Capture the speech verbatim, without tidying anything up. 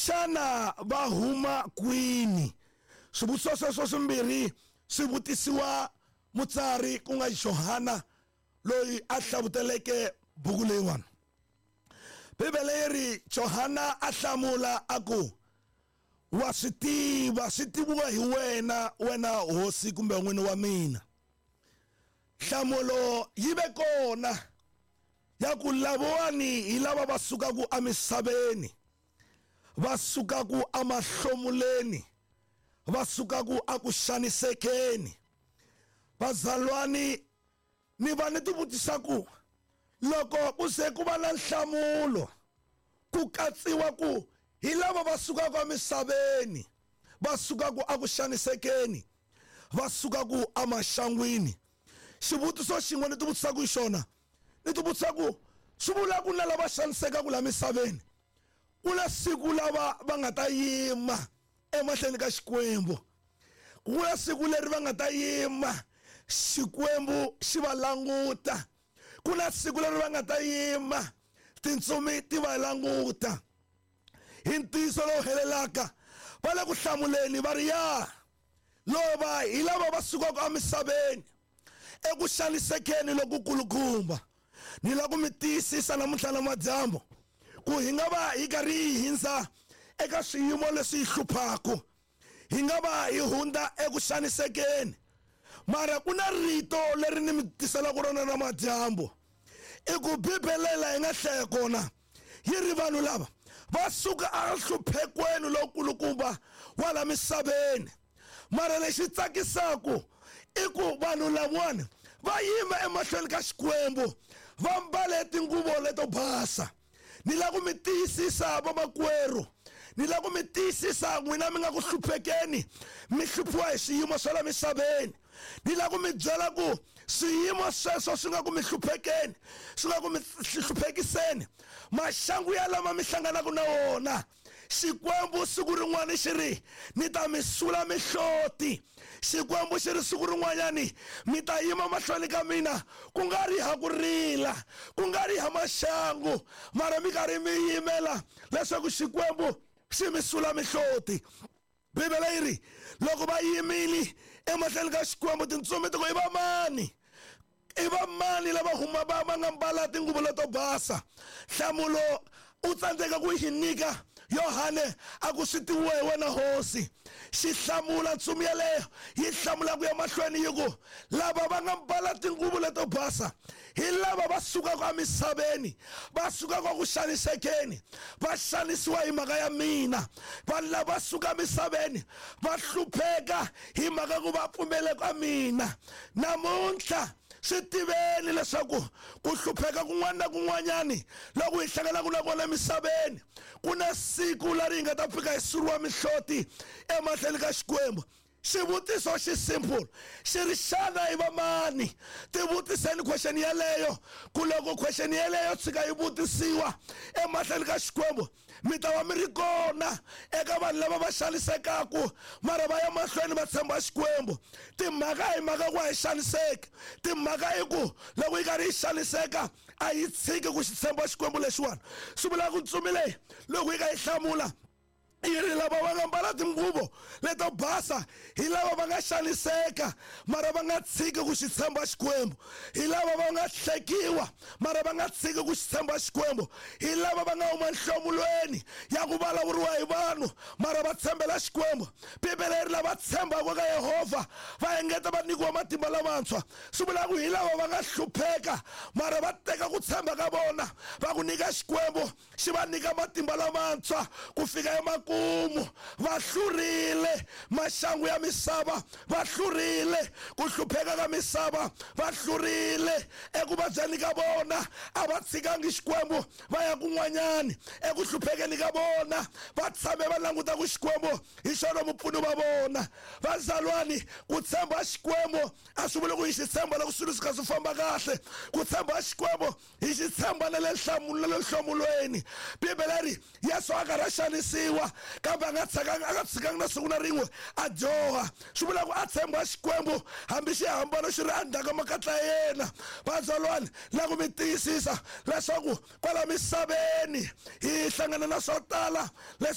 Xana va huma kwini? Swivutiso sweswo swimbirhi swi vutisiwa mutsari ku nga Johana loyi a hlavuteleke buku leyiwani. Bibele yi ri Johana a hlamula a ku, wa swi tiva, swi tiviwa hi wena, wena hosi kumbe n'wini wa mina. Nhlamulo yi ve kona ya ku lavawani hi lava va sukaka emisaveni, va sukaka emahlomuleni, va sukaka eku xanisekeni. Bazalwani, ni va ni tivutisa ku loko ku se ku va na nhlamulo ku katsiwa ku hi lava va sukaka emisaveni, va sukaka eku xanisekeni, va sukaka emaxangwini. Xivutiso xin'we ni tivutisaka hi xona, ni tivutisa ku swi vula ku na lava xanisekaka la misaveni, ku na siku lava va nga ta yima emahlweni ka Xikwembu, ku na siku leri va nga ta yima Xikwembu xi va languta, ku na siku leri va nga ta yima tintsumi ti va languta. Hi ntiyiso lowu helelaka va le ku hlamuleni va ri ya lova hi lava va sukaka emisaveni eku xanisekeni lokukulukumba. Ni lava ku mi tiyisisa namuntlha na madyambu ku hi nga va hi karhi hi hindza eka swiyimo leswi hi hluphaka, hi nga va hi hundza eku xanisekeni, mara ku na rito leri ni mi tiselaka rona na madyambu. I ku Bibele laha hi nga hlaya kona yi ri vanhu lava va suka enhluphekweni lowukulukumba wa la misaveni, mara lexi tsakisaka i ku vanhu lavawani va yima emahlweni ka Xikwembu va mbale tinguvo leto basa. Ni lava ku mi tiyisisa vamakwerhu, ni lava ku mi tiyisisa n'wina mi nga ku hluphekeni, mi hluphiwa hi swiyimo swa la misaveni. Ni lava ku mi byela ku swiyimo sweswo swi nga ku mi hluphekeni, swi nga ku mi hluphekiseni, maxangu ya lama mi hlanganaka na wona, Xikwembu siku rin'wana xi ri ni ta mi sula mihloti. Xikwembu xi ri siku rin'wanyani mi ta yima mahlweni ka mina ku nga ri ha ku rila, ku nga ri ha maxangu, mara mi karhi mi yimela leswaku Xikwembu xi mi sula mihloti. Bibele yi ri loko va yimile emahlweni ka Xikwembu, tintsumi ti ku i va mani, i va mani lava huma va va nga mbala tinguvu leto basa? Nhlamulo u tsandzeka ku yi nyika Yohane a ku swi tiviwa hi wena hosi. Xi hlamula ntsumi yeleyo yi hlamula ku ya mahlweni yi ku lava va nga mbala tinguvu leto basa hi lava va sukaka emisaveni, va sukaka ku xanisekeni, va xanisiwa hi mhaka ya mina. Vanhu lava suka emisaveni va hlupheka hi mhaka ku va pfumele ka mina. Namuntlha swi tiveni leswaku ku hlupheka kun'wana na kun'wanyani loko hi hlanganaka na kona emisaveni, ku na siku leri hi nga ta fika hi suriwa mihloti emahlweni ka Xikwembu. Xivutiso xi simple xi ri xana i va mani? Tivutiseni question yeleyo, ku loko question yeleyo tshika yi vutisiwa emahlweni ka Xikwembu, mi ta va mi ri kona eka vanhu lava va xanisekaka mara va ya mahlweni va tshemba Xikwembu. Timhaka hi mhaka ku a hi xaniseki, timhaka i ku loko yi karhi yi xaniseka a yi tshiki ku xi tshemba Xikwembu lexiwani. Swi vula ku ntsumi leyi loko yi ka yi hlamula yi ri lava va nga mbala tinguvo leto basa hi lava va nga xaniseka mara va nga tshiki ku xi tshemba Xikwembu, hi lava va nga hlekiwa mara va nga tshiki ku xi tshemba Xikwembu, hi lava va nga huma nhlomulweni ya ku vulavuriwa hi vanhu mara va tshembela Xikwembu. Bibele yi ri lava tshembaka ka Yehovha va engeta va nyikiwa matimba lamantshwa. Swi vula ku hi lava va nga hlupheka mara va teka ku tshemba ka vona va ku nyika Xikwembu, xi va nyika matimba lamantshwa ku fika emakumu. Va hlurile maxangu ya misava, va hlurile ku hlupheka ka misava, va hlurile eku vabyeni ka vona, a va tshikangi Xikwembu va ya kun'wanyani. Eku hluphekeni ka vona va tshame va languta ku Xikwembu hi xona mupfuni wa vona. Vazalwani, ku tshemba Xikwembu a swi vuli ku hi xi tshemba loko swilo swi kha swi famba kahle. Ku tshemba Xikwembu hi xi tshemba na le nhlamulo na le nhlomulweni. Bibele ri Yesu a karhi a xanisiwa kambe a nga tshakangi, a nga tshikangi na siku na rin'we a dyoha. Swi vula ku a tshemba Xikwembu hambi xihambano xi ri endzhaku ka makatla ya yena. Vazalwani, la ku mi tiyisisa leswaku kwala misaveni hi hlangana na swo tala leswi